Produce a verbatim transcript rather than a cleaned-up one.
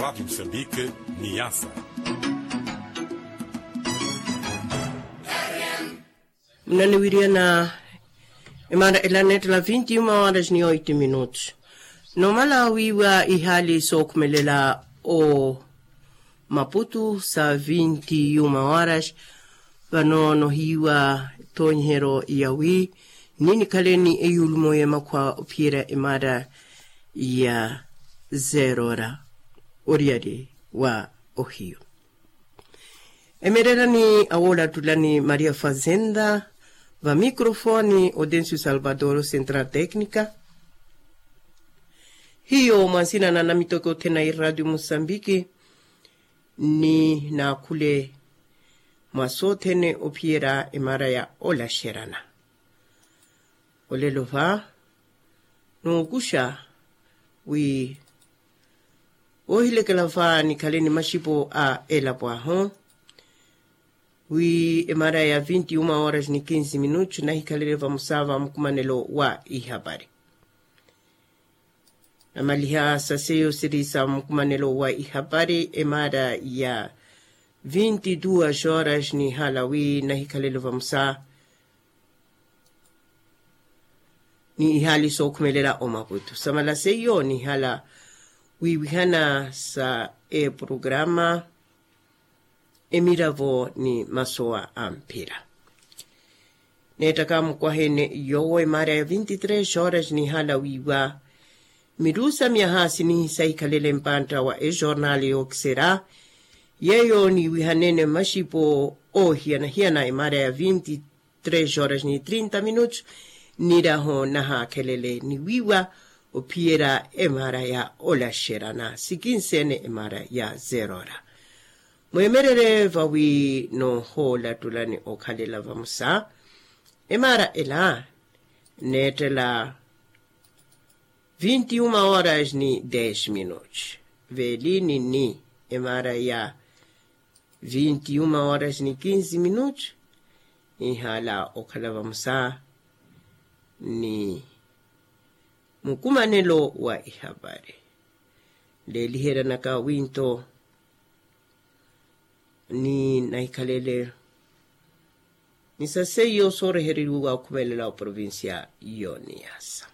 Rati musambike ni yasa. Munaniwiriyana emara ela nettela vinti yuma horas ni oitu minutos. Nomala wiiwa ihaali sookhumelela o maputu sa vinti yuma horas. Vano nohiiwa tonhero yawi ninikhaleni eyulumo ya makhwa ophiyerya emara ya zerora oriyari wa ohiyu. Emererani awoolatulani maria fazenda, va microfone otencio salvador central tecnica. Hiyo mwansina na namitoke othene a iradio musambiki ni naakhule mwa sothene ophiyerya emara ya olaxerana. Olelo va nookuxa wi oohilekela va nikhale ni maxipo a elapo ahu wi emara ya vinti uma horas ni kinsi minutos nahikhalele vamosa va mukumanelo wa ihapari. Namaliha sa seiyo siri sa mukumanelo wa ihapari emara ya vinti duas horas nihala wi nahikhalele vamosa ni ihaali sookhumelela omaputu samala seiyo nihala wiiwihana sa eprograma emiravo ni masowa a mphira. Neettaka mukwahene yoowo emaara ya vinti tres horas nihala wiiwa mirusa myaha sinihi sahikhalele mpantta wa ejornal yookiserya yeeyo niiwihanene mmaxipo oohiyana-hiyana emaara ya vinti tres horas ni trinta minutos. Niraho nahaakhelele niwiiwa ophiyerya emaara ya olaxerana sikinseene emaara ya zerora. Mweemererye vawi noohoolattulani okhalela vamosa emaara ela neettela vinti uma horas ni des minutos. Veeli ninni emaara ya vinti uma horas ni kinsi minutos nihala okhala vamosa ni mukumanelo wa ihapari. Leeliheryanaka winto ni nahikhalele ni sa seiyo soorehereriwa okhumelela oprovincia yo niyasa.